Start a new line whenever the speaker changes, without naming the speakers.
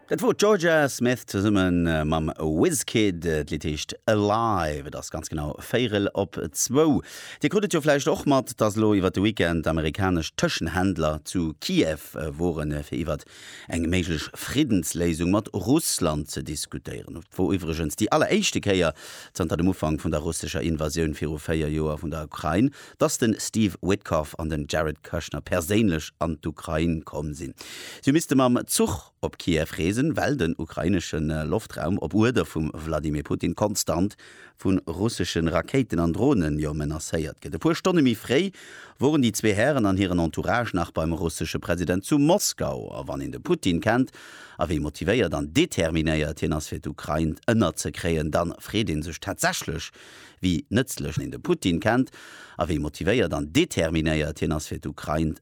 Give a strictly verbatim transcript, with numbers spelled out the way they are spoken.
Dat wor d'Jorja Smith zesumme mam Wizkid. D'Lidd heescht Alive. Et ass ganz genau véierel op zwou. Dir krut et jo vläicht och mat, dass elo iwwer de Weekend amerikanesch Tëschenhändler zu Kiew woren, fir iwwer eng méiglech Friddensléisung mat Russland ze diskutéieren. Et wor iwwregens déi alleréischte Kéier zanter dem Ufank vun der russescher Invasioun viru véier Joer vun der Ukrain, dass de Steve Witkoff an den Jared Kushner perséinlech an d'Ukrain komm sinn. Si hu misste mam Zuch op Kiew reesen, well den ukrainesche Loftraum op Uerder vum Wladimir Putin konstant vu russesche Rakéiten an Dronen jo menacéiert gëtt. E puer Stonne méi fréi woren déi zwee Hären an hiren Entourage nach beim russesche President zu Moskau. A wann een de Putin kennt a wéi motivéiert an determinéiert hien ass fir d'Ukrain ënnerzekréien, dann freet ee sech tatsächlech wéi nëtzlech een de Putin kennt a wéi motivéiert an determinéiert hien ass fir d'Ukrain